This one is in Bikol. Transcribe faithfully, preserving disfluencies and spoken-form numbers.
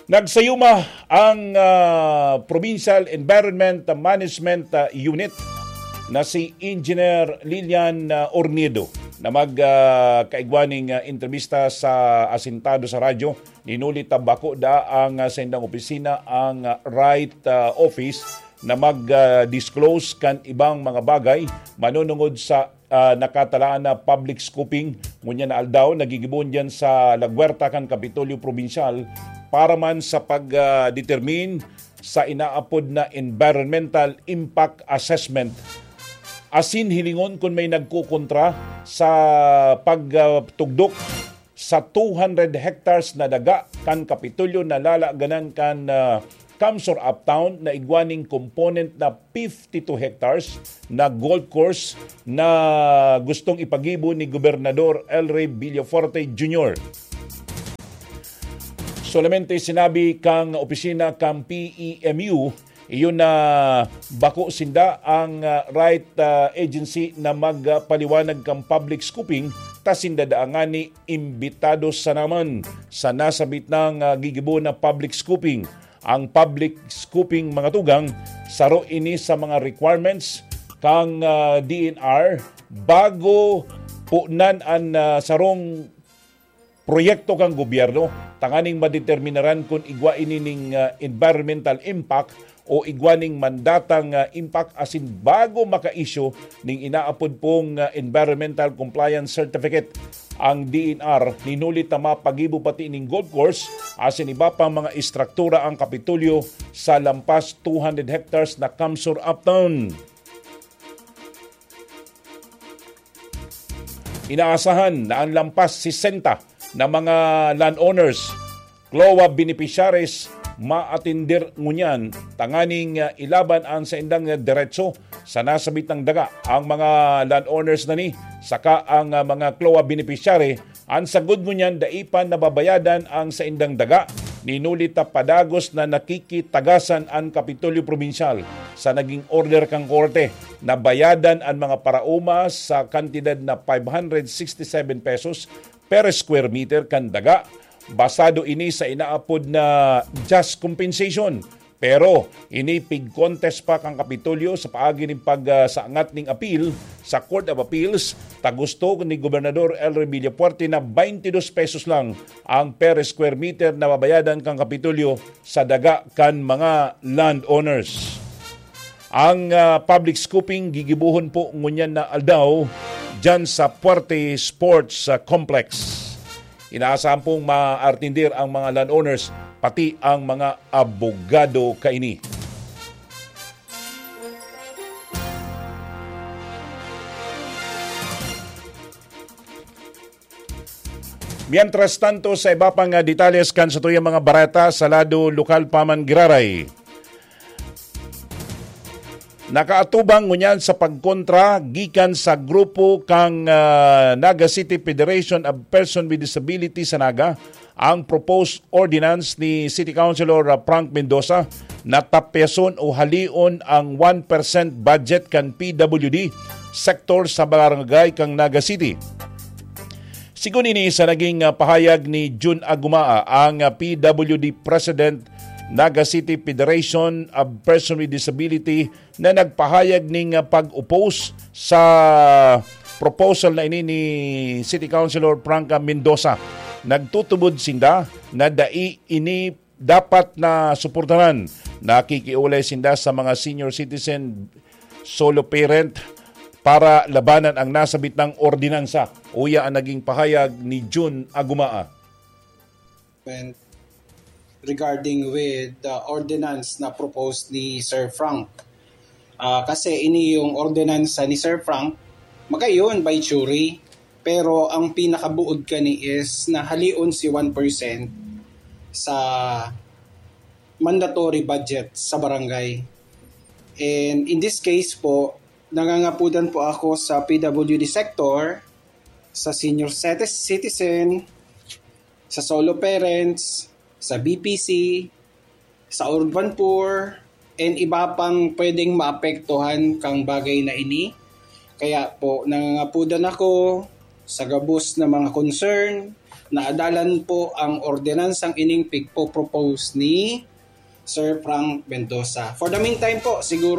Nagsayuma ang, ah, Provincial Environment Management, ah, Unit na si Engineer Lilian, ah, Ornedo na mag, ah, kaigwa ning, ah, entrevista sa asintado sa radyo. Hinuli ta bako da ang, ah, saindang opisina ang, ah, right, ah, office na mag, ah, disclose kan ibang mga bagay manunungod sa, ah, nakatalaan na public scoping. Ngunyan na aldaw, nagigibohon diyan sa La Huerta kan Kapitolyo Probinsyal para man sa pag, ah, determine sa inaapod na environmental impact assessment. Asin hilingon kun may nagkukontra sa pagtugdok sa two hundred hectares na daga kan Kapitolyo na lalaganan kan, ah, Kamsur Uptown na igwa ning component na fifty-two hectares na golf course na gustong ipagibo ni Gobernador El Rey Villafuerte Junior. Solamente sinabi kang opisina kang P E M U, iyon na bako sinda ang, ah, right, ah, agency na magpaliwanag kang public scoping, ta sinda daa ngani imbitado sa naman sa nasabit nang, ah, gigibo na public scoping. Ang public scoping, mga tugang, saro ini sa mga requirements kang, ah, D N R bago punan an, ah, sarong proyekto kan gobyerno tanganing madeterminaran kun igwa ini ning, ah, environmental impact o igwa ning mandatang, ah, impact asin bago maka-issue ning inaapod pong, ah, environmental compliance certificate ang D N R, hinuli ta mapagibo pati ning golf course asin iba pang mga estruktura ang Kapitolyo sa lampas two hundred hectares na Kamsur Uptown. Inaasahan na ang lampas sesenta na mga landowners, CLOA beneficiaries, maatender ngunyan tanganing, ah, ilaban ang saindang, ah, diretso sa nasabitang daga. Ang mga landowners na ni saka ang, ah, mga CLOA beneficiary, ang sagod ngunyan dai pa nababayadan ang saindang daga. Hinuli ta padagos na nakikitagasan ang Kapitolyo Probinsyal sa naging order kan korte na bayadan ang mga paraoma sa kantidad na five hundred sixty-seven pesos per square meter kan daga. Basado ini sa inaapod na just compensation. Pero ini pig-contest pa kan Kapitolyo sa paagi nin pag, ah, saangat ning apil sa Court of Appeals, ta gusto ni Gobernador El Rey Villafuerte na twenty-two pesos lang ang per square meter na babayadan kan Kapitolyo sa daga kan mga landowners. Ang, ah, public scoping gigibohon po ngunyan na aldaw diyan sa Puerte Sports, ah, Complex. Inaasahan pong maartindir ang mga landowners, pati ang mga abogado kaini. Mientras tanto, sa iba pang, ah, detalles kan satuyang mga bareta sa lado lokal pa man giraray. Nakaatubang ngunyan sa pagkontra gikan sa grupo kang, ah, Naga City Federation of Person with Disability sa Naga ang proposed ordinance ni City Councilor, ah, Frank Mendoza na tapyason o halion ang one percent budget kan P W D sector sa barangay kang Naga City. Sigon ini sa naging, ah, pahayag ni Jun Agumaa, ang, ah, P W D President, Naga City Federation of Person with Disability, na nagpahayag ning, ah, pag-oppose sa proposal na ini ni City Councilor Franca Mendoza. Nagtutubod sinda na dai ini dapat na suportahan. Nakikiulay sinda sa mga senior citizen, solo parent, para labanan ang nasabit ng ordinansa. Uya ang naging pahayag ni Jun Agumaa. Regarding with the ordinance na proposed ni Sir Frank. Ah, kasi ini yung ordinansa ni Sir Frank, magayon by jury, pero ang pinakabuod kani is nahalion si one percent sa mandatory budget sa barangay. And in this case po, nangangapudan po ako sa P W D sector, sa senior citi- citizen, sa solo parents, sa B P C, sa urban poor, and iba pang pwedeng maapektuhan kang bagay na ini. Kaya po, nangangapudan ako sa gabos na mga concern naadalan po ang ordenansang ining pigpo-propose ni Sir Frank Mendoza. For the meantime po, siguro